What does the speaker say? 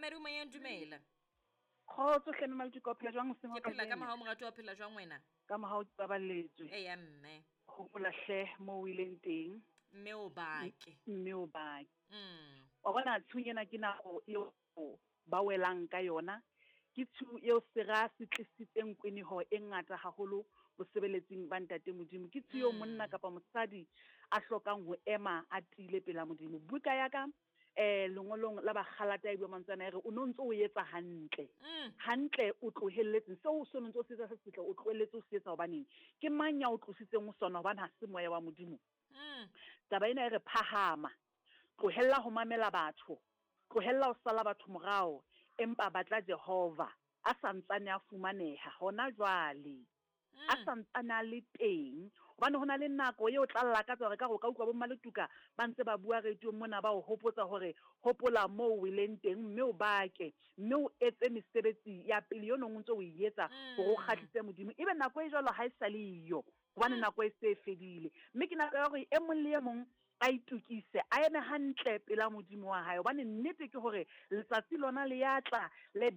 Momamedi o moyeng, dumela. Kgotso hle mme Maltuka, o phela jwang hoseng Ke phela ka mohau moratuwa, o phela jwang wena? Ka mohau ke baballetswe. Eya mme. Hopola hle moo o ileng teng. Mme o bake. Mme o bake. Wa bona tshiung ena ke nako eo ba welang ka yona. Ke tshiu eo sera se tlisitseng kweneho e ngata haholo bosebeletsing ba Ntate Modimo. Ke tshiu eo monna kapa mosadi a hlokang ho ema a tiile pela Modimo. Buka ya ka eh lengolong la Bagalata e bua mantswe ana e re o no ntso o etsa hantle. Hantle o tlohelletseng seo o no ntso o se etsa se setle, o tlohelletse o se etsa hobaneng? Ke mang ya o tlositseng ho sona hobane ha se moya wa Modimo? Taba ena e re phahama, tlohella ho mamela batho, tlohella ho sala batho morao, empa batla Jehova a sa ntsane a fumaneha hona jwale. A sa ntsane a le teng. Hobane ho na le nako eo o tla lakatsa hore ekare o ka utlwa bo Mmaletuka ba ntse ba bua radiong mona ba o hopotsa hore hopola moo o weleng teng mme o bake mme o etse mesebetsi ya pele eo neng o ntse o e etsa hore o kgahlise Modimo. Ebe nako e jwalo ha e sa le eyo hobane nako e se e fedile. Mme ke nako ya hore e mong le e mong a itokise, a eme hantle pela Modimo wa hae. Hobane nnete ke hore letsatsi lona le ya tla le.